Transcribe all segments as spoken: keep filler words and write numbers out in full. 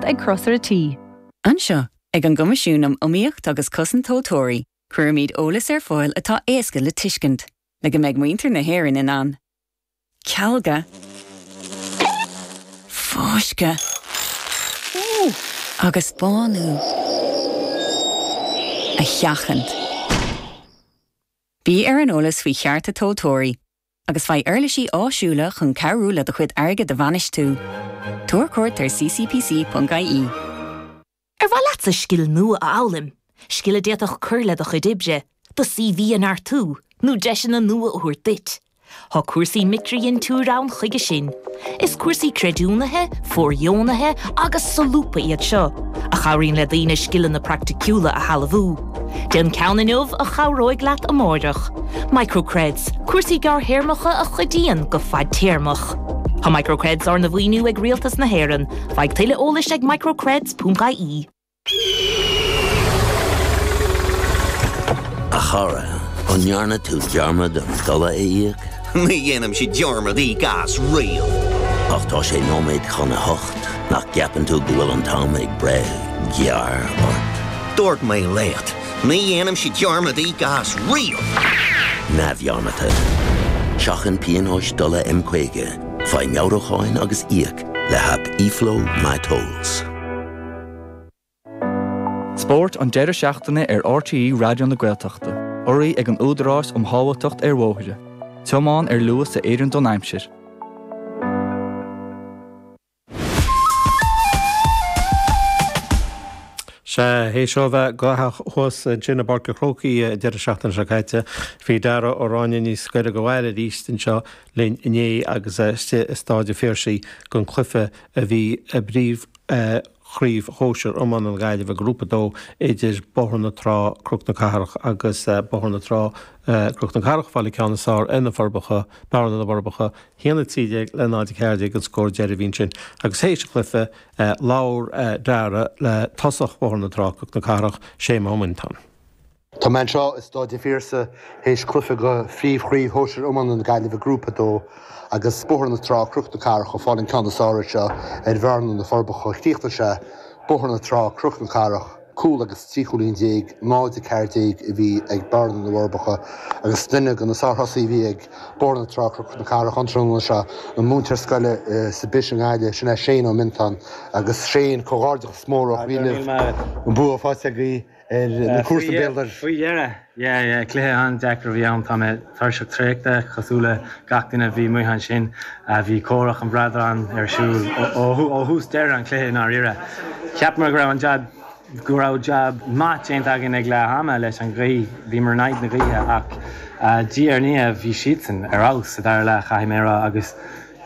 ag Crosaire Tí. Anseo ag an gCoimisiún um Iomaíocht agus Cosaint Tomhaltóirí, cuirimid eolas ar fáil atá éasca le tuiscint, le go mbeidh muintir na hÉireann in ann. Cealga Fáisceadh agus bánú a sheachaint. Bí ar an eolas faoi chearta tomhaltóirí, agus faigh uirlisí áisiúla chun cabhrú le do chuid airgid a bhainistiú. Tabhair cuairt ar ccpc.ie. Ar mhaith leatsa scil nua a fhoghlaim, scil a d'fhéadfadh cur le do chuid oibre, do CV a neartú, nó deiseanna nua a thabhairt duit. Tá cúrsaí micridhintiúir ann chuige sin. Is cúrsaí creidiúnaithe, fóirdheonaithe agus solúbtha iad seo, a chabhraíonn le daoine scileanna praiticiúla a shealbhú. Déan ceann inniu a chabhróidh leat amárach. Microcreds, cúrsaí gearrthéarmacha a chuidíonn go fadtéarmach. Tá Microcreds arna mhaoiniú ag Rialtas na hÉireann, faigh tuilleadh eolais ag microcreds.ie. A chara, an ndearna tú dearmad an dola a íoc? Ní dhéanaimse dearmad íoc as riamh. Ach tá sé nóiméad chun a hocht, nach gceapann tú go bhfuil an t-am ag breith gearr ort? Dúirt mé leat, ní dhéanaimse dearmad íoc as riamh. Neamhdhearmadta. Seachain pionóis dola M caoga, faigh meabhrúcháin agus íoc le haip eFlow MyTolls. Spórt an deireadh seachtaine ar RTÉ Raidió na Gaeltachta, urraithe ag an Údarás um Shábháilteacht ar Bhóithre. Tiomáin ar luas a oireann don aimsir. Sea, théis seo a bheith gnóthach thuas ansin i bPáirc an Chrócaigh an deireadh seachtaine seo caite, bhí Dara Ó Ráinne níos gaire do bhaile arís anseo linn inné agus é istigh i Stáid an Phiarsaigh don chluiche a bhí i bpríomh Chraobh Shóisir Iomána na Gaillimhe, Grúpa a Dó, idir Bóthar na Trá, Cnoc na Cathrach agus Bóthar na Trá, Cnoc na Cathrach, fáil an ceann is fearr ar na Forbacha, Bearna na bhForbacha, a haon a trí déag le náid a ceathair déag an scór deiridh a bhí ansin. Agus théis an chluiche, labhair Dara le tosach Bhóthar na Trá, Cnoc na Cathrach, Séamus Ó Mintáin. Tá mé anseo i Stáid an Phiarsaigh théis cluiche de Phríomh-Chraobh Shóisir Iomána na Gaillimhe Grúpa a Dó agus Bóthar na Trá, Cnoc na Cathrach ag fáil an ceann is fearr anseo ar Bhearna na Forbacha. Chríochnaigh sé Bóthar na Trá, Cnoc na Cathrach, cúl agus trí chúilín déag, náid a ceathair déag a bhí ag Bearna na bhForbacha agus duine de na sárthosaithe a bhí ag Bóthar na Trá, Cnoc na Cathrach an tráthnóna seo, an múinteoir scoile sa bPis i nGaillimh, sin é Shane Ó Mintáin. Agus Shane, comhghairdeachas mór ó chroí libh, an bua faighte agaibh. ar na cúrsaí béil dorais. Faoi dheireadh! Yeah, yeah, cluiche an-deacair a bhí ann. Tá mé tuirseach traochta, cosúil le gach duine a bhí amuigh ansin. Bhí comhrac an bhradáin ar siúl ó thús deireadh an chluiche i ndáiríre. Cheapamar go raibh an jab, go raibh jab maith déanta againn ag leath ama leis an ghaoth, bhíomar in aghaidh na gaoithe ach diaidh ar ndiaidh bhí siadsan ar fheabhas sa dara leath, caithfidh mé a rá, agus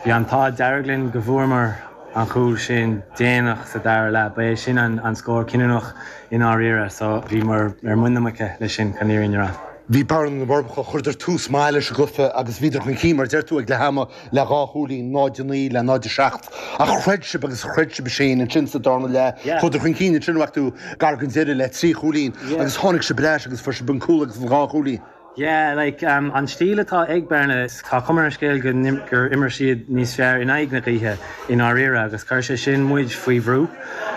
Bhí an t-ádh dearg linn go bhfuaireamar an chúl sin déanach sa dara leath. Ba é sin an scór cinniúnach i ndáiríre so bhíomar ar muin na muice leis sin chun an fhírinne a rá. Bhí Bearna na bhForbacha, chuireadar tús maith leis an gcluiche agus bhíodar chun cinn, mar a deir tú, ag leath ama le dhá chúilín, náid a naoi le náid a seacht. Ach chreid sibh agus chreid sibh Shane ansin sa darna leath. Chuadar chun cinn ansin, bhfaca tú, gar don deireadh le trí chúilín agus tháinig sibh ar ais agus fuair sibh an cúl agus an dhá chúilín. Yeah, like, an stíl atá ag Bearna, tá cuma ar an scéal go gur imir siad níos fearr in aghaidh na gaoithe i ndáiríre agus chuir sé sin muid faoi bhrú.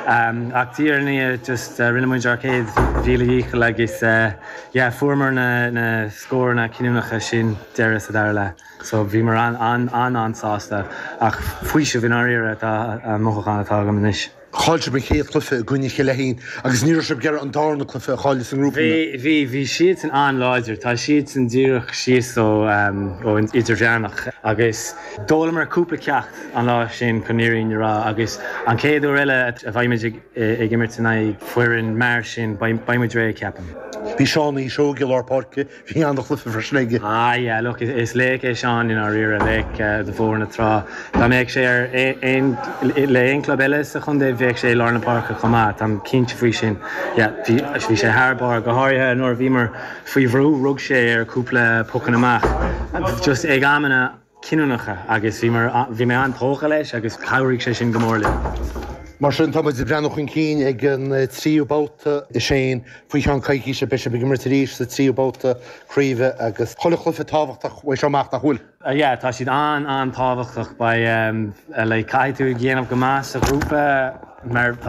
Ach diaidh ar ndiaidh just rinne muid ár céad mhíle dhícheall agus yeah, fuaireamar na na scóranna cinniúnacha sin deireadh sa dara leath. So bhíomar an an an-sásta ach faoiseamh i ndáiríre atá an mothúchán atá agam anois. Chaill sibh an chéad chluiche i gcoinne Chill Fheichín agus ní raibh sibh ag iarraidh an darna cluiche a chailleadh sa ngrúpa. Bhí, bhí, bhí siadsan an-láidir. Tá siadsan díreach síos ó, ón idirmheánach agus d'fhoghlamar cúpla ceacht an lá sin chun an fhírinne a rá agus an chéad uair eile a bheidh muid ag, ag imirt in aghaidh foireann mar sin beidh, beidh muid réidh, ceapaim. Bhí Seán Uí Seoighe i lár páirce. Bhí an-chluiche freisin aige. Ah yeah, look, is laoch é Seán i ndáiríre, laoch do Bhóthar na Trá. Dá mbeadh sé ar aon, le aon club eile sa chontae, bheadh sé i lár na páirce chomh maith, táim cinnte faoi sin. Yeah, bhí, bhí sé thar barr, go háirithe nuair a bhíomar faoi bhrú, rug sé ar cúpla pocanna amach just ag amanna. cinniúnacha agus bhí bhí mé an-tógtha leis agus chabhraigh sé sin go mór linn. Mar sin, tá muid ag breathnú chun cinn ag an tríú babhta a Shane. Faoi cheann coicíse beidh sibh ag imirt arís sa tríú babhta craoibhe agus chuile chluiche tábhachtach uaidh seo amach, nach bhfuil? Yeah, tá siad an-an-tábhachtach. Beidh, like, caithfidh tú déanamh go maith sa ghrúpa mar tá